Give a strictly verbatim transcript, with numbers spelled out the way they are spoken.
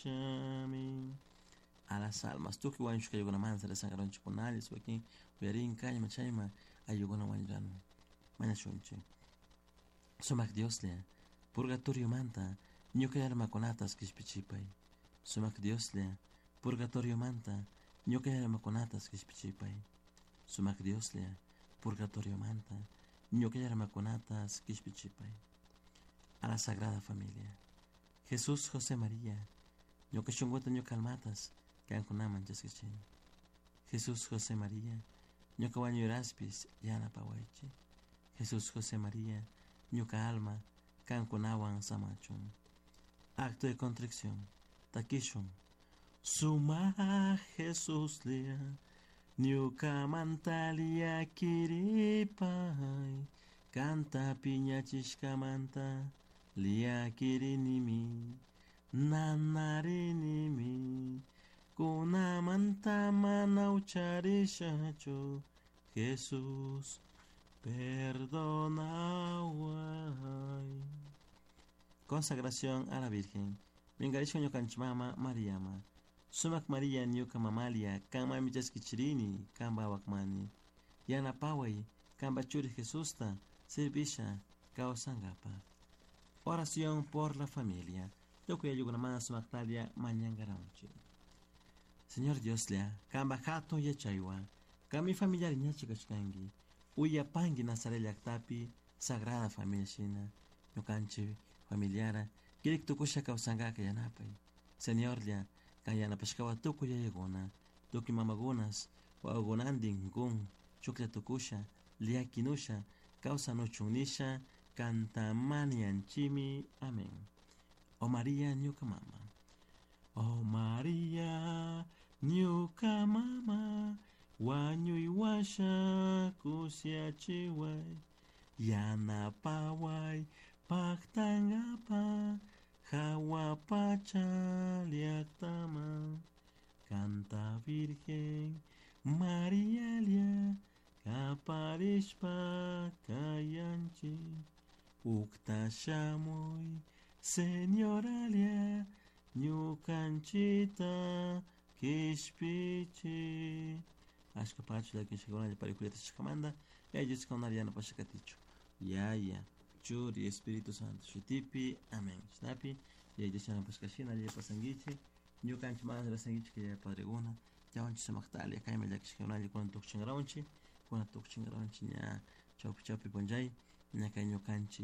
Kishpichishami. A las almas, tukuy wañushkaykunamanta rezankaronchikkunallas wakin uyarin kayman chayman ayllukuna wañuran mañashunchik. Sumak Dioslla, purgatoriomanta ñuka almakunatas kishpichipay. Sumak Dioslla, purgatoriomanta ñuka almakunatas kishpichipay. Sumak Dioslla, purgatoriomanta ñuka almakunatas kishpichipay. A la Sagrada Familia. Jesús, José, María, ñuka shunkuta ñuka almatas kankunaman chaskichini. Jesús, José, María, ñuka wañuraspis yanapawaychik. Jesús, José, María, ñuka alma kankunawan samachun. Acto de contrición. Takishun. Sumak Jesuslla, ñukamanta llakiripay, kanta piñachishkamanta llakirinimi, nanarinimi, kunamanta mana ucharishachu, Jesús, perdonaway. Consagración a la Virgen. Minkarishka ñukanchik mama Mariama. Sumak María ñuka mamalia, kanmanmi chaskichirini, kanpa awakmani. Yanapaway, kanpa churi Jesusta, servisha, kawsankapaj. Oración por la familia. Tukuy ayllukunamanta sumaktalla mañankaranchik. Señor Dioslla, kanpa hatun yachaywan, kanmi familiari ñachi kashkanki, uyapanki Nazaret llaktapi Sagrada Familia shina, ñukanchik familiara, kirik tukusha kawsankaka yanapay. Señorlla, kan yanapashkawan tukuy yayakuna, tukuy mamakunas, wawakunantin kun, chuklla tukusha, llakinusha, kawsanuchun nisha, kanta mañanchimi. Amén. Oh María, ñuka mama. Oh María, ñuka mama, wañuy washa kushiyachiway, yanapaway paktankapa, jahua pacha llaktaman, kanta Virgen Marialla, kaparishpa kayanchik, ukta shamuy Señoralia, ñukanchita kishpichi. Ashka pacha llakishkakunalla parikulata shkamanta, yayachishkakunalla yanapasha katichu. Yaya, Churi, Espíritu Santo, shutipi, amén. Shinapi, yaya yanapashka shina alli pasankichik, ñukanchik mana rasankichik yaya padreguna, yawanchik sumakta kayman llakishkakunalla kunan tukuchinkaranchik, kunan tukuchinkaranchik ña chawpi chawpi punchay, ña kay ñukanchik